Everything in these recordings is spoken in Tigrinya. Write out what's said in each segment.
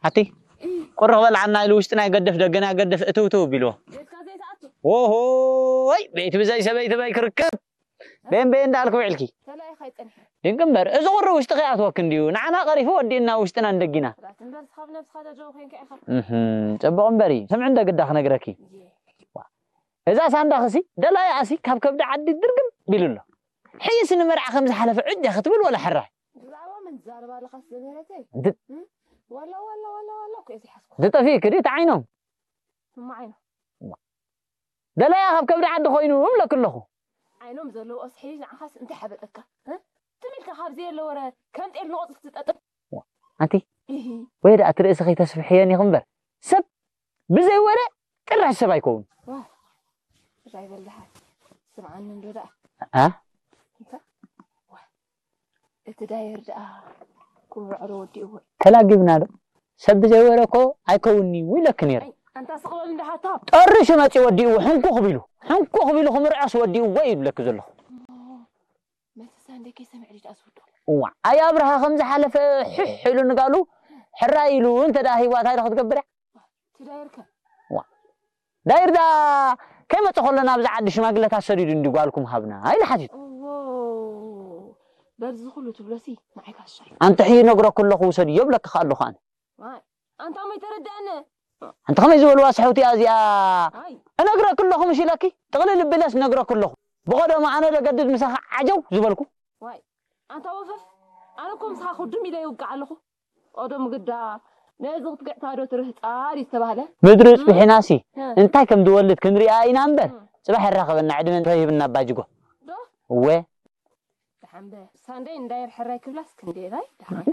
ኣቲ ቁርቕ በልዓና ኢሉ ውሽጥና ይገድፍ ደገና ይገድፍ እትውትው ቢልዎ። ኦሆይ ቤት ብዘይ ሰበይቲ በይ ክርከብ። ቤን ቤን እንዳልኩ ውዕልኪ። ድንቂ እምበር እዚ ቁሪ ውሽጢ ከይኣትወክ እንድዩ ንዓና ቀሪፉ ወዲእና ውሽጥና እንደጊና። ጽቡቕ እምበር እዩ። ስምዒ እንደ ግዳ ክነግረኪ። እዛ ሳንዳኽሲ ደላይኣሲ ካብ ከብዲ ዓዲ ድርግም ቢሉ ኣሎ። ሕይስ ንመርዓ ከም ዝሓለፈ ዕጀ ክትብል ወላ ሕራይ። ብዛዕባ መን ትዛረብ ኣለኻስ ዘምህረተይ? ድ- እም? ዋላ ዋላ ዋላ ዋላ እኮ እየ ዝሓዝኩ። ዝጠፊእክ ድዩ እቲ ዓይኖም? እማ ዓይኖም። ደላያ ካብ ከብዲ ዓዲ ኮይኑ እብለክ ኣለኹ። ዓይኖም ዘለዎ ስሒል ንዓኻስ እንታይ ሓበጠካ? እ? ትም ኢልካ ካብ ዘየለ ወረ ከም ጤል ንቆጽ ክትጠጥር። ኣንቲ እሂ። ወይ ደኣ እቲ ርእሲ ከይተስፍሕየን ኢኹ እምበር ሰብ ብዘይ ወረ ጭራሽ ሰብ ኣይከውን። ዋ፣ ራይ በልድሓ። ስምዓኒ እንዶ ደኣ። ኣ? እንታይ? ዋ፣ እቲ ዳየር ደኣ ክምርዖ ዶ ወዲእዎ? ተላጊብና ዶ? ሰብ ብዘይ ወረ እኮ ኣይከውን'ዩ ኢለኪ ነይረ። ኣይ፣ ኣንታ ስቕ በል እንዳ ሓታ። ጠሪሹ መጺኡ ወዲእዎ፣ ሕንኩኽ ቢሉ። ሕንኩኽ ቢሉ ክምርዖስ ወዲእዎ እዩ ዝብለኪ ዘለኹ። እሞ፣ መተሳ እንደ ከይሰምዕ ድዩ ደኣ ዝውዶ? እዋ፣ ኣይ ኣብርሃ ከም ዝሓለፈ ሕሕ ኢሉ ንጋሉ፣ ሕራይ ኢሉ እንተ ደኣ ሂዋ እንታይ ዶ ክትገብር እያ? ትዳይርከ? ዋ። ዳይር ደኣ ከይመጸ ከሎ ናብዚ ዓዲ ሽማግለታት ሰዲዱ እንዲ ጓልኩም ሃብና ኢሉ ሓቲቱ። እዎ። በዚ ኩሉ ትብሎሲ ንዓይ ካሻይ። ኣንተ ሕይ ነግረኩ ኣለኹ ውሰድዮ ብለካ ከኣ ኣለኹ ኣነ። ዋይ፣ ኣንታ እሞ ይተረድኣኒ። ኣንታ ከመይ ዝበልዋ ስሕውቲ እያ እዚኣ? ኣይ። እነግረኪ ኣለኹ ምሽ ኢለኪ? ጥቕልል እብለስ እነግረኪ ኣለኹ። ብቐደሙ ኣነ ለገድድ ምሳኻ ዓጀው ዝበልኩ። ዋይ፣ ኣንታ ወፈፍ፣ ኣነ እኮ ምሳኻ ክዱም ኢለ ይውቃዕ ኣለኹ። ቀደም ግዳ ነዚ ክትግዕታ ዶ ትርህጻ ድዩ ዝተባህለ? ምድሪ እም? ጽቢሕናሲ እ። እንታይ ከም ዝወልድ ክንሪኣ ኢና እምበር፣ እም። ጽባሕ የራኽበና ዕድመ እንተሂብና ኣባጅጎ። ዶ? እወ። ደሓን በ ሳንደይ እንዳየር ሕራይ ክብላስ ክንደይ ራይ? ደሓን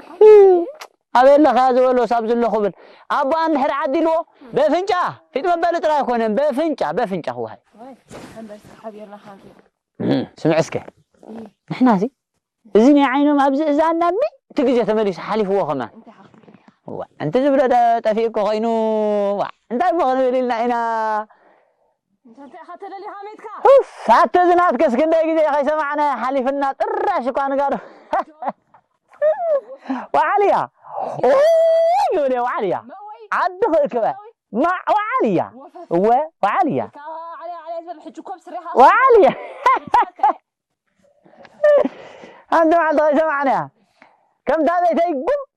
ኣበይ ኣለኻ ዝበሎ ሳብ ዝሎ ክብል። ኣቦኣ እንድሕር ዓዲልዎ፣ በፍንጫ፣ ፊጥ መበሊ ጥራይ ኣይኮነን፣ በፍንጫ፣ በፍንጫ ክወሃይ። ወይ፣ ደሓን በል እስከ ሓቢርና ሓንቲ። ስምዕ እስከ። እም። ንሕናሲ፣ እዚ ናይ ዓይኖም ኣብዚ እዛና ሚእቲ ግዜ ተመሊሱ ሓሊፍዎ ከማን። እንታይ ሓፍቱ? ዋ፣ እንተ ዝብሎ ደ-፣ ጠፊኡ እኮ ኮይኑ፣ ዋ፣ እንታይ እሞ ክንብል ኢልና ኢና? እንተ እንታይ ኢኻ ተደሊኻ ሜትካ? ኡፍ፣ ኣቲ እዚ ናትከስ ክንደይ ግዜ ከይሰማዕና ሓሊፍና ጥራሽ እኳ ንጋዶ። ወዓልያ። ኦይ፣ ይብል እየ፣ ወዓልያ። መእወይ? ዓዲ ክእክበ። መእወይ? ማ-፣ ወዓልያ። ወፈፍ። እወ፣ ወዓልያ። ካብ ዓልያ፣ ዓልያ ዝበል ሕጂ እኮ ብስሬኻ ወዓልያ። ሓንቲ መዓልቲ ከይሰማዕናያ። ከምታ ቤተይ ጉም